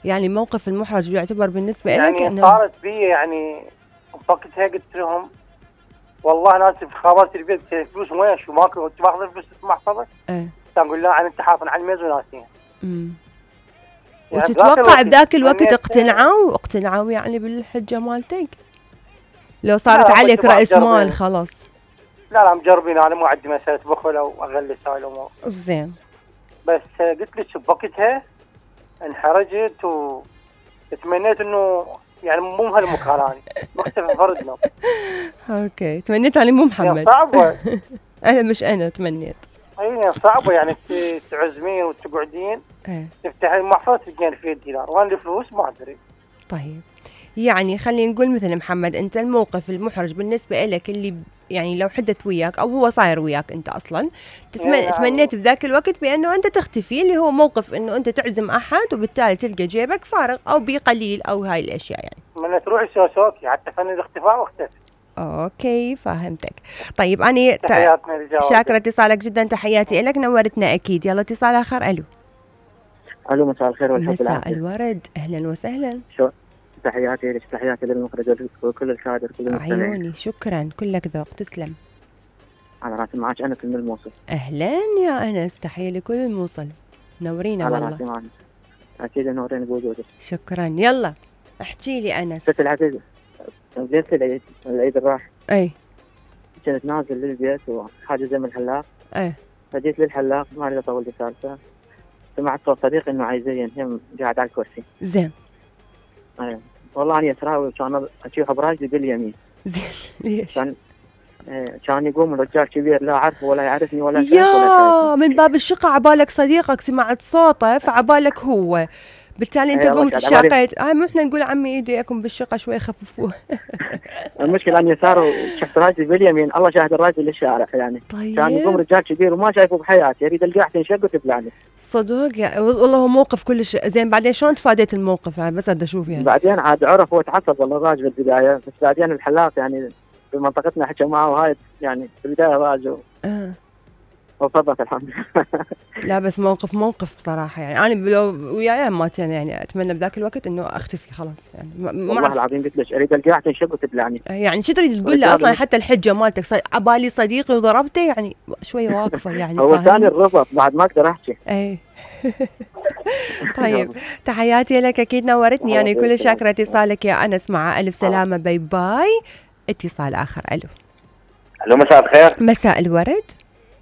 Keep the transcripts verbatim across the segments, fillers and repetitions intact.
يعني الموقف المحرج يعتبر بالنسبة يعني لك يعني صارت بي يعني وقتها قلت لهم والله ناسف خابرت البيت فلوس وين شو ماكو انت ماخذ الفلوس محفظك؟ ايه تقول لا انت حافظ على الميز وناسين. امم يعني وتتوقع بذاك الوقت اقتنعوا اقتنعوا يعني بالحجة مالتك؟ لو صارت عليك رأس مال خلاص. لا لا مجربين، انا مو عندي مسألة بخل او اغلس هاي الامور. زين. بس قلت لك بوقتها انحرجت وتمنيت انه يعني مو بهالمكان اني مختفي فردنا. اوكي تمنيت اني مو محمد. يعني صعبة. انا مش انا تمنيت. اي صعبة يعني تعزمين وتقعدين ايه تفتحين محفظة تلقين فيه الدينار وانا الفلوس ما ادري. طيب يعني خلينا نقول مثل محمد انت الموقف المحرج بالنسبة لك اللي يعني لو حدث وياك او هو صاير وياك انت اصلا تتم... يعني تمنيت بذاك الوقت بانه انت تختفي، اللي هو موقف انه انت تعزم احد وبالتالي تلقى جيبك فارغ او بقليل او هاي الاشياء يعني. من تروحي سوسوكي حتى فن الاختفاء واختفي. اوكي فهمتك. طيب انا ت... شاكرة اتصالك جدا، تحياتي لك، نورتنا اكيد. يلا اتصال اخر. الو. الو مساء الخير والحب مساء والعافية. الورد، اهلا وسهلا. شو تحياتي لك، تحياتي للمخرج وكل الكادر كل المستمعين. عيوني شكرا، كلك ذوق، تسلم. على راسي، معك انس من الموصل. اهلا يا انس، تحيه لكل الموصل، نورينا على والله. راسي معك، اكيد نورين بوجودك. شكرا. يلا احكي لي انس. ست العزيز، ليلة العيد العيد الراح اي كنت نازل للبيت وحاجز من الحلاق. اي فجيت للحلاق ما اريد اطول السالفه، سمعت صوت صديقي انه عايزين هم قاعد على الكرسي. زين. اي والله اني اسراوي كان اشوفه براجلي باليمين. زين ليش؟ كان كان يقوم رجال كبير لا اعرفه ولا يعرفني ولا شيء يا من باب الشقة عبالك صديقك سمعت صوته فعبالك هو، بالتالي انت قمت تشاقيت. هاي مو احنا نقول عمي ايديكم بالشقة شوي خففوه. المشكلة اني صاروا شفت راجل باليمين، الله شاهد الراجل للشارع يعني. طيب. كان يقوم رجال كبير وما شايفه بحياتي، يريد القاع تنشق وتبلعني. صدق يا والله هو موقف كلش زين. بعدين شلون تفاديت الموقف هذا؟ بس بدي اشوف يعني. بعدين عاد عرف هو تعصب والله الراجل بالبداية، بس بعدين الحلاق يعني في منطقتنا حكى معه وهاي يعني في البداية راجل. اه وصدق الحمد لله. لا بس موقف موقف بصراحة يعني. أنا لو وياي ماتين يعني أتمنى بذاك الوقت إنه أختفي خلاص يعني. والله العظيم قلت لك أريد القاع تنشق وتبلعني. يعني شو تريد تقول له أصلا؟ حتى الحجة مالتك صي... عبالي صديقي وضربته يعني شوية واقفة يعني. هو ثاني الرفض بعد ما أقدر أحكي. إيه. طيب تحياتي لك، أكيد نورتني يعني. كل شاكرة اتصالك يا أنس، مع ألف سلامة. باي باي. اتصال آخر. ألو. ألو مساء الخير. مساء الورد.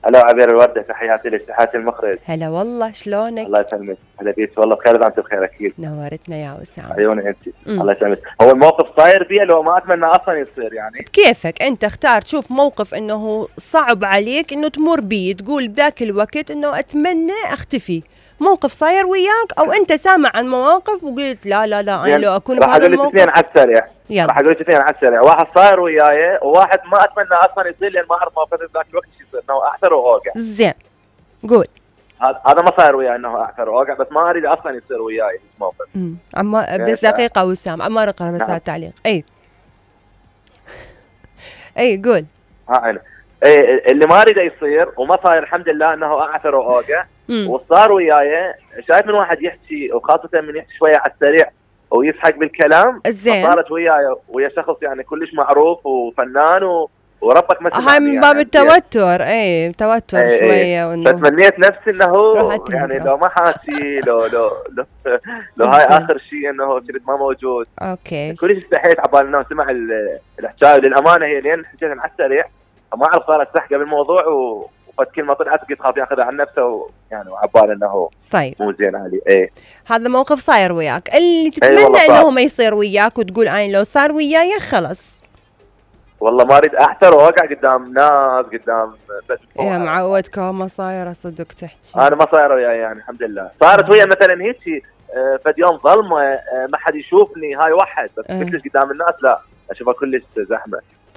هلا عبير الوردة، تحياتي لك، تحياتي المخرج. هلا والله، شلونك؟ الله يسلمك. هلا بيك والله بخير، انت بخير اكيد. نورتنا يا وسام. عيوني انت. الله يسلمك. هو الموقف صاير بيه لو ما اتمنى اصلا يصير يعني. كيفك انت اختار تشوف موقف انه صعب عليك انه تمر بيه، تقول بذاك الوقت انه اتمنى اختفي. موقف صاير وياك او انت سامع عن مواقف وقلت لا لا لا انا لو اكون بهذا الموقف. راح اقول لك اثنين على السريع. راح اقول لك اثنين على السريع. واحد صاير وياي وواحد ما اتمنى اصلا يصير لان ما اعرف موقف ذاك الوقت شو يصير، انه احتر واوقع. زين قول. هذا ما صاير وياي انه احتر واوقع، بس ما اريد اصلا يصير وياي موقف. امم عما بس دقيقه وسام عمار اقرا بس التعليق. اي اي قول. ها عيني. ايه اللي ما اريده يصير وما صاير الحمد لله انه اعثر واوقع، وصار وياي شايف من واحد يحكي وخاصه من يحكي شويه على السريع ويسحق بالكلام. صارت وياي ويا شخص يعني كلش معروف وفنان و... وربك ما هاي من باب يعني التوتر. اي توتر ايه شويه ايه. فتمنيت نفسي انه يعني لو ما حاسي لو لو لو, لو هاي اخر شيء انه كنت ما موجود. اوكي كلش استحيت عبال انه سمع الحكايه. للامانه هي لين حكيت على السريع ما اعرف صارت سحقه بالموضوع و... وفد كلمه طلعت قلت خاف ياخذها عن نفسه ويعني وعبال انه طيب مو زين علي. ايه هذا موقف صاير وياك اللي تتمنى ايه انه ما يصير وياك وتقول انا لو صار وياي خلص والله ما اريد احتر واوقع قدام ناس قدام بس. يا معود كوما صايره صدق تحكي. انا ما صايره وياي يعني الحمد لله. صارت ويا مثلا هيك فد يوم ظلمه ما حد يشوفني هاي واحد بس قلت لك قدام الناس لا اشوفها كلش زحمه.